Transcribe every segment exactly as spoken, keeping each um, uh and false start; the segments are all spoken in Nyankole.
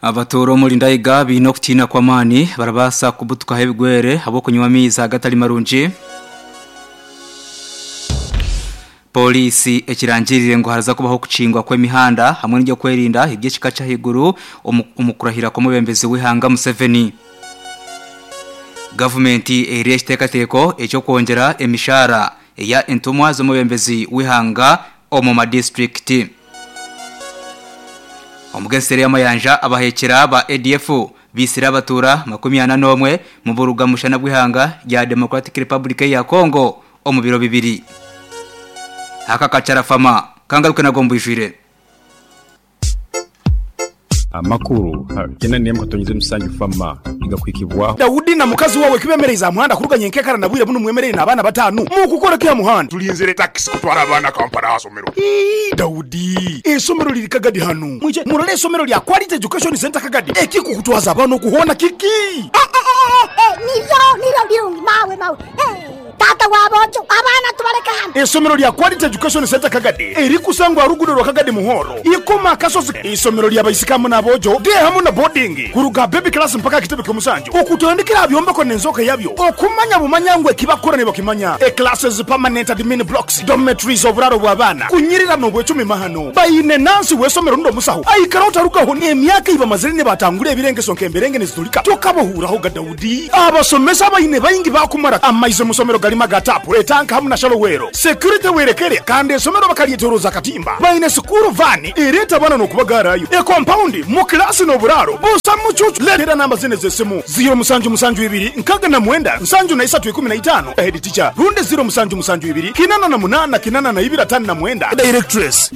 Abatoro muri Ndaiga bino okutina kwa mani barabasa kubutuka hebigwere abo kunywa amaizi agatali marungi. Polisi ekirangirire ngo haraza kubaho kuchingwa kw'emihanda hamwe n'ibyo kwerinda iby'ekika cy'ahiguru omukurahira kw'omubembezi w'ihanga Museveni. Gavumenti eri ekiteekateeko ekyokwongyera emishahara eya entumwa z'omubembezi w'ihanga omu madistrikiti. Omugeseri y'amayanja abahekera ba A D F bisira abatura makumi ana n'omwe mu buruga mushana bw'ihanga rya Democratic Republic ya Congo omu biro bibiri. Haka kachara fama kangaruke nagombwijire. Amakuru kena niyamko tonyize musangi fama igakwikibwa Daudi na mukazi wawe kibemereza muhanda kuruganye nkekara nabwire buno mwemerere nabana batanu mu kukora kya muhanda tulinzire taxi kutwara abana Kampala hasomero. Daudi esomero liri Kagadi hanu mwije murole esomero lya Quality Education Center Kagadi ekikukutwaza abana okuhona kiki nivyo nivyo birungi mawe mawe tata wabojo abana tubareka hano. Esomero lya Quality Education Center Kagadi eri kusangwa rugudo rwa Kagadi muhoro ikoma kasozi. Isomero lya bayisikamu nabojo de hamu na boarding kuruga baby class mpaka kitebe kyomusanjo okutandikira byombeko nenzoka yabyo okumanya bumanyangwe kibakora ne bakimanya e classes permanent admin blocks dormitories oburaro bw'abana kunyirira no bwecumi mahano bayine nansi wesomero ndo musaho aikara utarukaho ne emyaka iba mazire ne batangure ebirengeso nkemberenge nezitulika tokabohuraho ga Daudi abasomesa bayine bayingi bakumara amaizo musomero galima gatapu etanka hamu na shalowero security werekere kandi esomero bakalietoroza katimba bayine sukuru vani ireta bana no kubagarayo e compound mu class no buraro busa mucucu letera namba zine zesimu zero musanju musanju ibiri nkaga na mwenda nsanju na isatu ikumi na itano head teacher runde zero musanju musanju ibiri kinana na munana kinana na ibira tano na mwenda directress.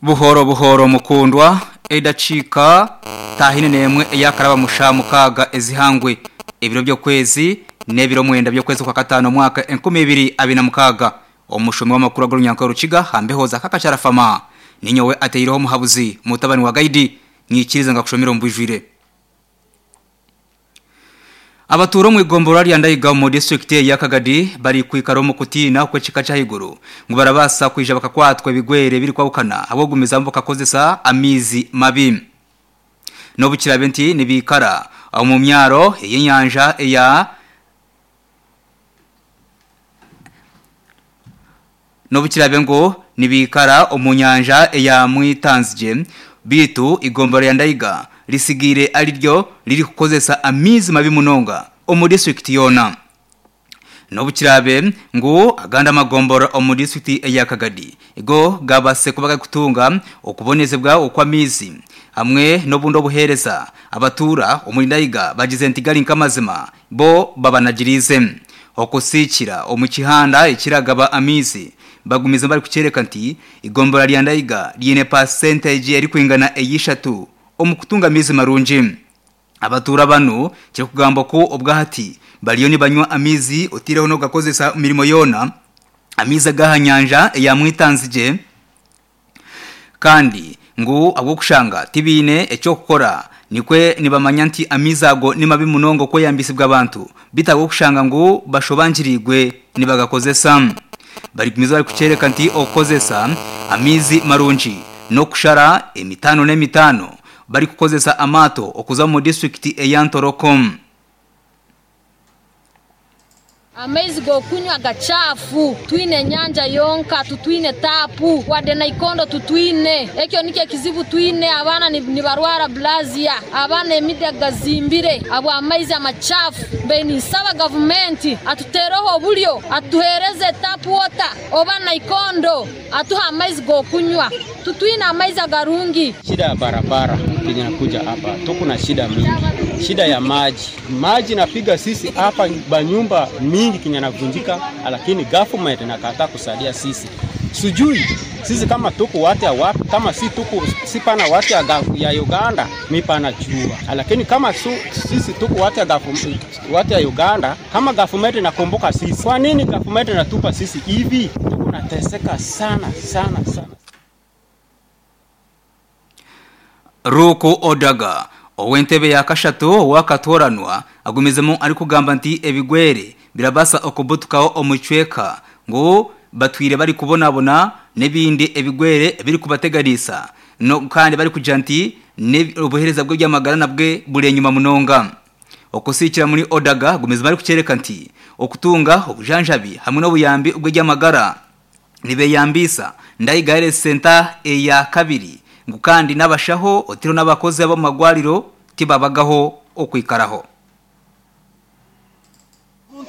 Buhoro buhoro mukundwa edachika tahine nemwe eyakaraba mushamu kaga ezihangwe ebiro byo kwezi nebiro mwenda byo kwezi kwa katano mwaka enkumi ibiri abina mukaga. Omushomi w'amakuru agurunyanka rukiga hambehoza kakachara fama ninyowe ateireho muhabuzi mutabani wa gaidi nyikiriza ngakushomera mbujwire. Abaturo mu igombora rya Ndaiga mu district ya Kagadi bari kwikaro mu kutina kwekika cyahiguru ngo barabasa kwija bakakwatwa ibigwere biri kwabukana abogumiza bakakozesa amizi mabi. Nobukirabe nti nibikara mu myaro y'inyanja ya Nobukirabe ngo nibikara omunyanja ya mwitanzije bitu igombora ya Ndaiga risigire ariryo riri kukozesa amizi mabi munonga omu district yona. Nobukirabe ngo aganda magombora omu district ya Kagadi igo gabase kubaga kutunga okubonezebwa okwamizi hamwe nobundo buhereza abatura omuri Ndaiga bagize ntigali nkamazima bo babanagirize okusikira omukihanda ekiragaba amizi bagumiza bari kucereka nti igombora lya Ndaiga lyine percentage eri kwingana eyishatu omukutunga mizi marungi. Abatura bano kiri kugamba ko obwahati baliyo ni banywa amizi otireho no gakozesa mirimo yona amizi agahanyanja ya mwitanzije kandi ngo abo kushanga tibine ecyo gukora nikwe nibamanya nti amizi ago ni mabi munongo ko yambisibwa abantu bitago kushanga ngo bashobanjirigwe nibagakozesa. Bari kumiza bari kucereka nti okozesa amizi marungi no kushara emitano n'emitano bari kukozesa amato okuza mu district eyantorokom. Amaizi gokunywa gachafu twine nyanja yonka tutwine tapu wade na ikondo tutwine ekyo nike kizibu twine abana ni, ni barwara blazia abana emide gazimbire abo amaizi amachafu beni saba government atuteroho bulyo atuhereze tap water oba na ikondo atuha amaizi gokunywa tutwine amaizi agarungi. Shida ya barabara kenya nakuja hapa tuko na shida mingi, shida ya maji maji napiga sisi hapa banyumba mingi kenya navunjika, lakini government inakataa kusaidia sisi. Sijui sisi kama tuko watu wapi, kama si tuko si pana watu ya, ya Uganda mi pana jua, lakini kama su, sisi tuko watu ya watu ya Uganda, kama government inakumbuka sisi, kwa nini government inatupa sisi hivi? Tuko nateseka sana sana sana. Ruku Odaga owentebe ya kashatu wakatoranwa agumizemo ari kugamba nti ebigwere birabasa okubutukaho omucweka ngo batwire bari kubonabona n'ibindi ebigwere biri kubateganisa no kandi bari kugira nti obuhereza bwe by'amagara nabwe buri enyuma munonga. Okusikira muri Odaga gumeza bari kucereka nti okutunga obujanjabi hamwe n'obuyambi ubwe by'amagara nibeyambisa Ndaiga Health Center eya kabiri ngu kandi n'abashaho otiro n'abakozi abo magwariro tibabagaho okwikaraho.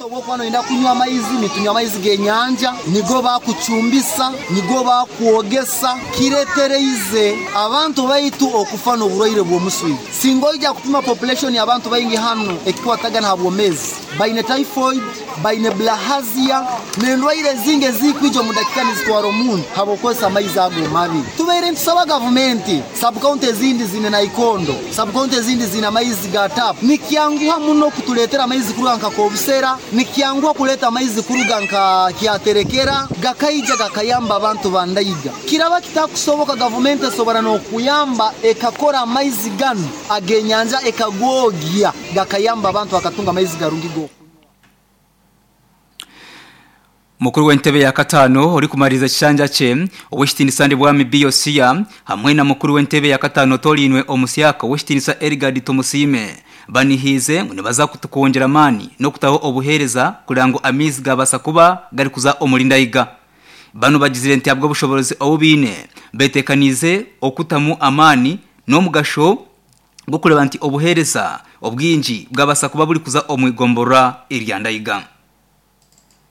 Obwokwano enda kunywa amaizi nitunywa amaizi g'enyanja nigo bakucumbisa nigo bakwogesa kiretereize abantu baitu okufa n'oburwaire bw'omuswija. Singoija kupima population y'abantu baingi hano ekikwatagana ha bwomezi baine typhoid, baine bilharzia n'endwaire zinge zikwija omu dakika nizitwara omuntu habwokukozesa amaizi ago mabi. Tubeire ntusaba gavumenti subcounty ezindi zine naikondo, subcounty ezindi zine amaizi ga tap. Nikyanguha muno kutuleetera amaizi kuruga nka Kobusera, nikyangwa kuleta amaizi kuruga nka Kyaterekera gakaija gakayamba abantu bandaiga. Kiraba kitakusoboka gavumenti esobora n'okuyamba ekakora amaizi gano agenyanja ekagwogya gakayamba abantu bakatunga amaizi garungi go. Mukuru w'entebe ya katano ori kumariza kishanja kye ow'ekitinisa Ndibwami Biosia hamwe na mukuru w'entebe ya katano Tolinwe Omusyaka ow'ekitinisa Erigadi Tomusime banihize ngo nibaza kutukongera amani no kutaho obuhereza kugira ngo amizi gabasa kuba gari kuza omurindayiga. Bano bagizire nti abwo bushobozi obubine betekanize okutamu amani n'omugasho gukureba nti obuhereza obwinji bwabasa kuba buri kuza omwigombora irya Ndaiga.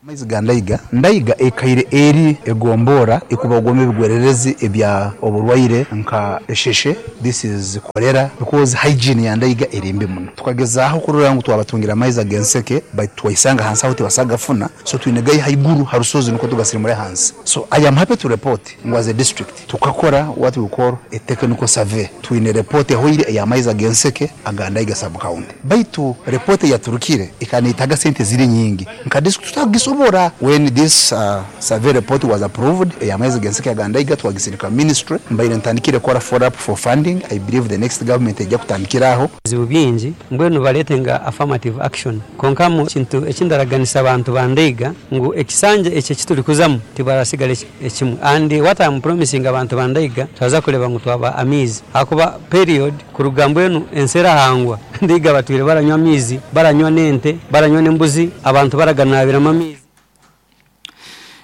Amaizi ga Ndaiga, Ndaiga ekaire eri egombora ekuba ogwome ebigwererezi ebya oburwaire nka esheshe, this is cholera, because hygiene ya Ndaiga eri mbi muno. Tukagezaho kurora ngu twabatungira amaizi agenseke but twaisanga hansi aho tibasagafuna, so twinegayi haiguru harusozi nuko tugasirimure hansi. So I am happy to report ngu as a district tukakora what we call a technical survey. Twine report ehoire ya amaizi agenseke aga Ndaiga sub county. Baitu report yaturukire ikanitaga sente ziri nyingi nka district tutagisobo. When this uh, survey report was approved, amaizi genseke aga Ndaiga twagisirika ministry mbaire ntandikire kora follow up for funding. I believe the next government ejja kutandikiraho bizibu bingi mbwenu baletenga affirmative action konka mu kintu ekindaraganisa abantu ba Ndaiga ngu ekisanja ekyo kituli kuzamu tibarasigale ekimu, and what I'm promising abantu ba Ndaiga twaza kuleba ngu twaba amizi akuba period kuruga mbwenu ensera hangwa Ndaiga batwire baranywa amizi, baranywa nente, baranywa nembuzi, abantu baraganabira amamizi.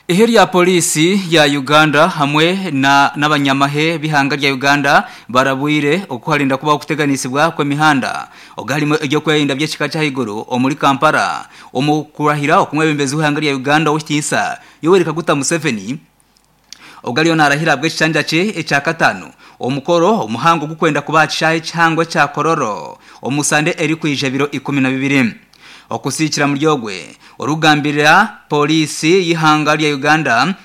Iheri ya polisi ya Uganda hamwe na n'abanyamahe bihanga rya Uganda barabwire okuharinda kuba okuteganisibwa kw'emihanda ogalimo ejyo kwerinda by'ekika kya higuru omuri Kampala omukurahira okumwebembezi w'ihanga rya Uganda ow'ekitiinisa Yoweri Kaguta Museveni ogaliyo narahira bw'ekishanja kye ekya katano omukoro omuhango gukwenda kuba kishahe kihangwa kya Kororo omusande eri kwija biro ikumi na bibiri. Okusikira muryogwe orugambirira polisi y'ihanga rya Uganda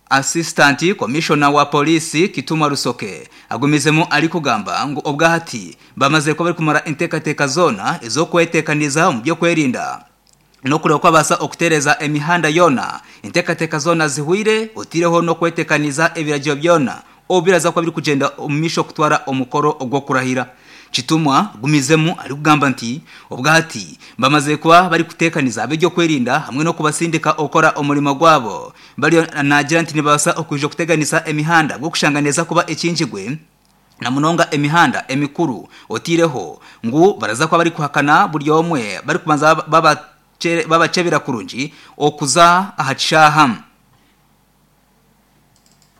Assistant Commissioner wa polisi Kituma Rusoke agumizemo ari kugamba ngo obwahati bamaze ko bari kumara intekateka zona ezo kwetekaniza mu byo kwerinda no kureba ko abasa okutereza emihanda yona intekateka zona zihwire otireho no kwetekaniza ebiragiro byona obiraza ko biri kugenda omumisho kutwara omukoro ogwo kurahira. Chitumwa gumizemu ari kugamba nti obwahati bamaze kuba bari kutekaniza ab'ebyo kwerinda hamwe no kubasindika okora omurimo gwabo bari nagira nti nibasa okuja kuteganisa emihanda gwokushanganeza kuba ekinjigwe na munonga emihanda emikuru otireho ngu baraza kuba bari kuhakana buri omwe bari kubanza babachebera kurungi okuza ahakishaha.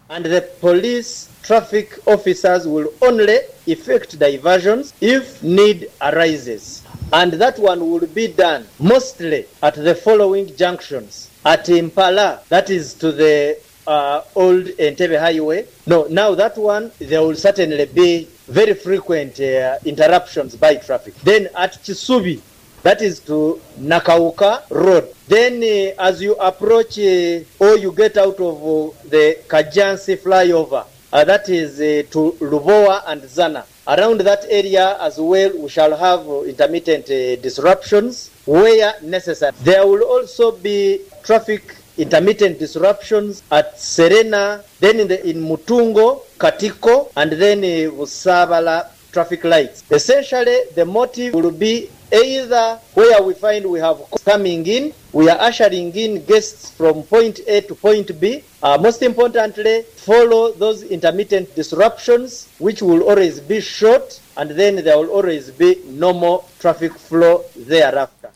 And the police traffic officers will only effect diversions if need arises. And that one will be done mostly at the following junctions. At Impala, that is to the uh, old Entebbe Highway. No, now that one, there will certainly be very frequent uh, interruptions by traffic. Then at Chisubi, that is to Nakauka Road. Then uh, as you approach uh, or you get out of uh, the Kajansi flyover, uh, that is uh, to Lubowa and Zana. Around that area as well, we shall have uh, intermittent uh, disruptions where necessary. There will also be traffic intermittent disruptions at Serena, then in, the, in Mutungo, Katiko, and then uh, Busabala traffic lights. Essentially, the motive will be either where we find we have coming in, we are ushering in guests from point A to point B. Uh, most importantly, follow those intermittent disruptions, which will always be short, and then there will always be normal traffic flow thereafter.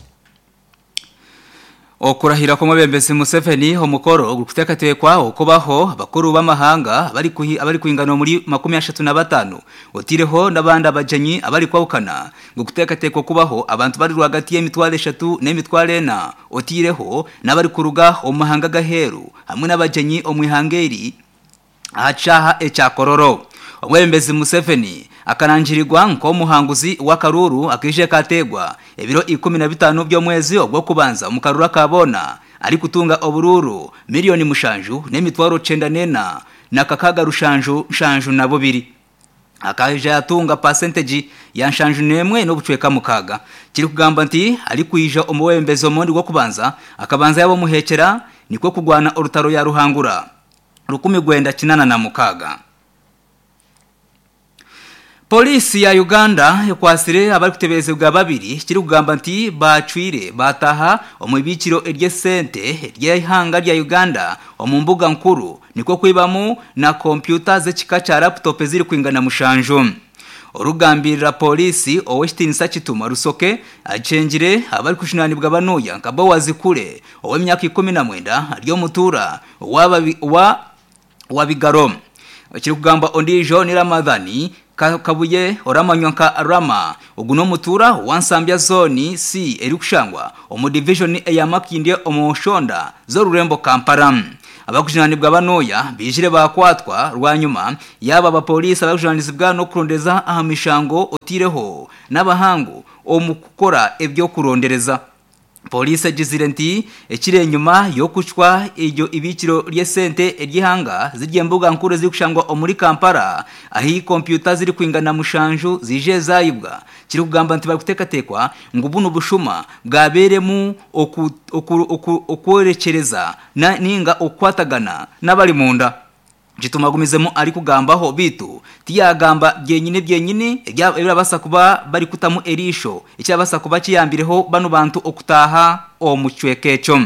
Okurahira kwa mwebembezi Museveni omukoro gukutekatekwa okubaho abakuru b'amahanga abari kuhi abari kuingana muri makumi ashatu na batanu otireho nabandi abajenyi abari kwawukana gukutekatekwa kubaho abantu bari rwagati y'emitwaro eshatu n'emitwaro ena otireho nabari kuruga omahanga gaheru hamwe n'abajenyi omwihangeri ahacaha ekyakororo. Omwebembezi Museveni akarangirirwa nk'omuhanguzi wa Karuru akije kategwa ebiro ikumi na bitano by'omwezi ogwo kubanza mukarura kabona ari kutunga obururu miliyoni mushanju n'emitwaro cenda nena na kakaga rushanju shanju na bubiri akaje atunga percentage ya nshanju nemwe no bucweka mukaga kiri kugamba nti ari kuija omwebembezi omundi gwo kubanza akabanza yabo muhekera niko kugwana orutaro ya ruhangura rukumi gwenda kinana na mukaga. Polisi ya Uganda yakwasire abari kuteberezebwa babiri kiri kugamba nti bacwire bataha omubikiro erye sente ry'ihanga rya Uganda omu mbuga nkuru niko kwibamu na kompyuta z'ekika cya laptop ziri kwingana mushanju. Orugambirira polisi Owestinsa Kituma Rusoke acengire abari kushinanibwa banuya nka Bowazi Kule ow'emyaka ikumi na mwenda aryo mutura wa wa wabigaro kiri kugamba ondijo ni Ramadhani Kabuye oramanywa nka Rama oguno mutura wansambya zone C eri kushangwa omu division eya Makindye omushonda zorurembo Kampala. Abakushinanibwa banoya bijire bakwatwa rwanyuma yaba abapolisi abakushinanizibwa no kurondeza aha mishango otireho n'abahangu omukukora ebyo kurondereza. Polisi agizire nti ekiri enyuma yokuchwa iryo ibikiro ry'esente eryihanga zirye mbuga nkuru ziri kushangwa omuri Kampala ahi kompyuta ziri kwingana mushanju zije zayibwa kiri kugamba nti bari kutekatekwa ngo buno bushuma bwaberemu okworekereza na ninga okwatagana n'abari munda. Jitumagumizemo ari kugambaho bitu tiyagamba byenyine byenyine ebirabasa kuba bari kutamu erisho icyabasa kuba kiyambireho bano bantu okutaha omucwekecho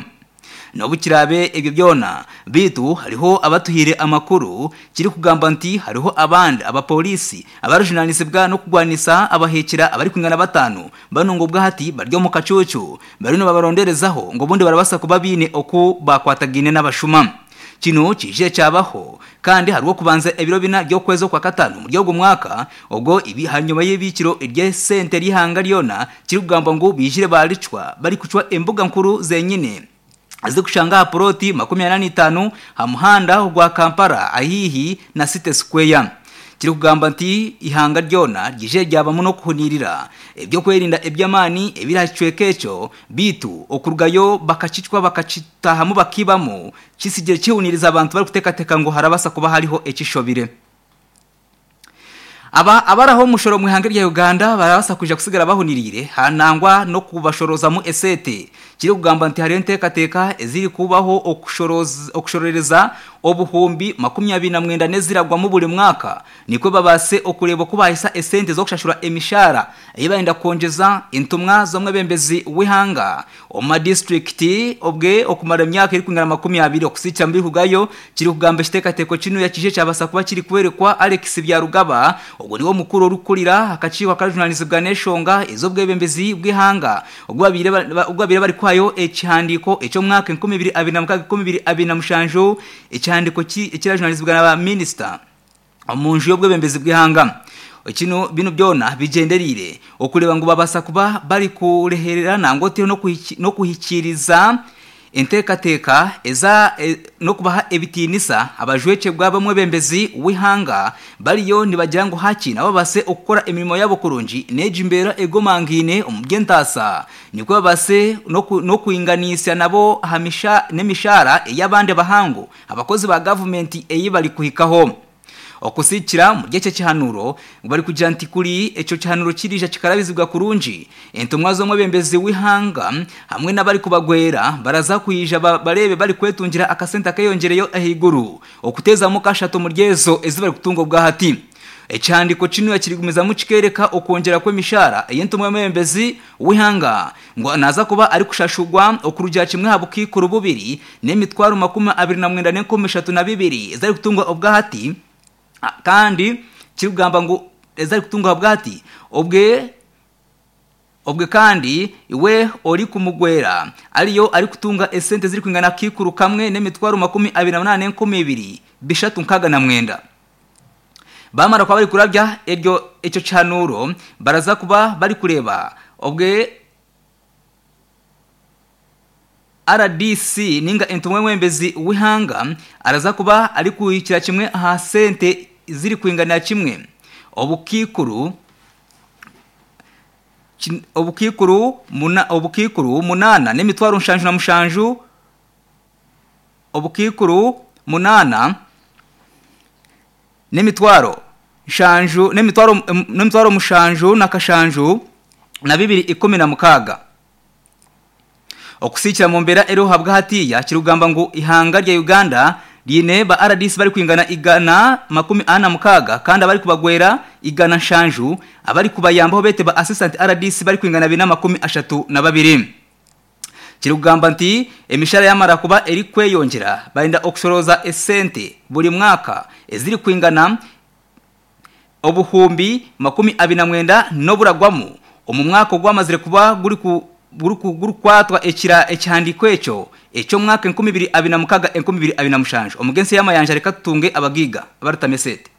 nobukirabe ebyo byona bitu hariho abatuhire amakuru kiri kugamba nti hariho abandi abapolisi abarujunanizibwa no kugwanisa abahekera abari kwingana batanu bano ngo bwahati baryo mu kacucu barino babaronderezaho ngo bundi barabasa kuba bine oku bakwatagine n'abashuma. Kino kije cyabaho kandi harwo kubanza ebiro bina byo kwezo kwa katanu mu ryogo mwaka ubwo ibi hanyuma y'ibikiro irye sente rihanga ryona kiri kugamba ngo bijire balicwa bari kucwa embuga nkuru zenyine azikushanga ploti makumyabiri na itanu hamuhanda gwa Kampala ahihi na City Square. Kiri kugamba nti ihanga ryona ryije ryabamo no kuhunirira ebyo kwerinda ebyamani ebiracwekecho bitu okurugayo bakacicwa bakacitahamu bakibamo kisigire kihuniriza abantu bari kutekateka ngo harabasa kuba hariho ekishobire. Aba abaraho mushoro mu ihanga rya Uganda barabasa kuja kusigara bahunirire hanangwa no kubashoroza mu esete kiri kugamba nti hari entekateka eziri kubaho okushoroza okushorereza obuhumbi makumyabiri na mwenda neziragwa mu buli mwaka niko babase okureba kubahisa esente zo kushashura emishara ibaenda konjeza intumwa zomwe bembezi wihanga oma district obwe okumara emyaka iri kwingana makumyabiri okusicha mbiri kugayo kiri kugamba kitekateko kino yakije cyabasa kuba kiri kwerekwa Alex Byarugaba ubwo niwo mukuru urukurira akaciwa karujunanizibwa neshonga izo bwebembezi bwihanga ubwo abire bari kwayo ekihandiko ecyo mwaka enkumi ibiri abiri na mukaga ikumi ibiri abiri na mushanju ekihandiko ekirajunanizibwa n'aba minister omunju y'obwebembezi bwihanga Kino bino byona bigenderire okureba ngo babasa kuba bari kurehererana ngo te no kuhikiriza entekateka eza e, no kubaha ebitinisa abajweke bwabamwe bembezi wihanga bariyo nibagira ngo haki nabo base okukora emirimo yabo kurungi nejimbera egomangine omugentasa niko babase no kuinganisa nabo hamisha nemishara eyabande bahango abakozi ba government eyi bari kuhikaho okusikira mu gice kihanuro bari kugira nti kuri eco kihanuro kirija kikarabizibwa kurungi entumwa zo mwebembezi wihanga hamwe nabari kubagwera baraza kuyija barebe bari kwetungira akasenta kayongereyo ahiguru okuteza mu kashato mu ryezo ezibari kutungo bwa hati Ekihandiko kino kirigumizamu kikereka okwongera kw'emishahara ey'entumwa y'omwebembezi w'ihanga ngo naza kuba ari kushashurwa okurugira kimwe aha bukiikuru bubiri n'emitwaro makumi abiri na mwenda n'enkumi ishatu na bibiri ezari kutungwa obwahati, kandi kirikugamba ngu ezari kutungwa obwahati obwe obwe kandi iwe ori kumugwera ariyo ari kutunga esente ziri kwingana kikuru kamwe n'emitwaro makumi abiri na munana n'enkumi ibiri bishatu nkaga na mwenda. Bamara kwa bari kurabya eryo ekyo kihanuro baraza kuba bari kureba obwe R D C ninga entumwe mwembezi w'ihanga araza kuba ari kuhikira kimwe aha sente ziri kwingana kimwe obukikuru obukikuru muna obukikuru munana n'emitwaro nshanju na mushanju obukikuru munana n'emitwaro nshanju n'emitwaro n'emitwaro mushanju na kashanju na bibiri ikumi na mukaga. Okusikira mu mbera ero habwa hatiya kirugamba ngo ihanga rya Uganda ryine ba R D C bari kwingana igana makumi ana mukaga kandi abari kubagwera igana nshanju abari kubayambaho bete ba assistant R D C bari kwingana bina makumi ashatu na babiri. Kirugamba nti emishara yamara kuba eri kweyongera barinda okushoroza esente buri mwaka eziri kwingana obuhumbi makumi abiri na mwenda noburagwamu omu mwaka ogwamazire kuba guri ku guri kwatwa ekira ekihandiko ekyo ekyo mwaka enkumi ibiri abiri na mukaga enkumi ibiri abiri na mushanju. Omugensi y'amayanja reka tutunge abagiga abarutamesete.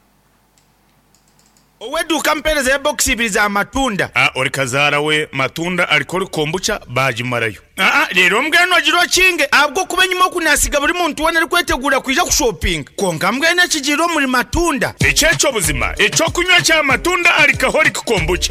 Oweduka mpereza ya box ibiri za matunda. Ah, ori kazara we matunda alikori kombucha bajimarayo. Ah, rero mbweno agiro kinge abwo kuba nyuma kunasiga buri muntu wona ari kwetegura kwija kushopping. Konka mbwene kijiro muri matunda. Echecho buzima, echo kunywa cha matunda alikahori kombucha.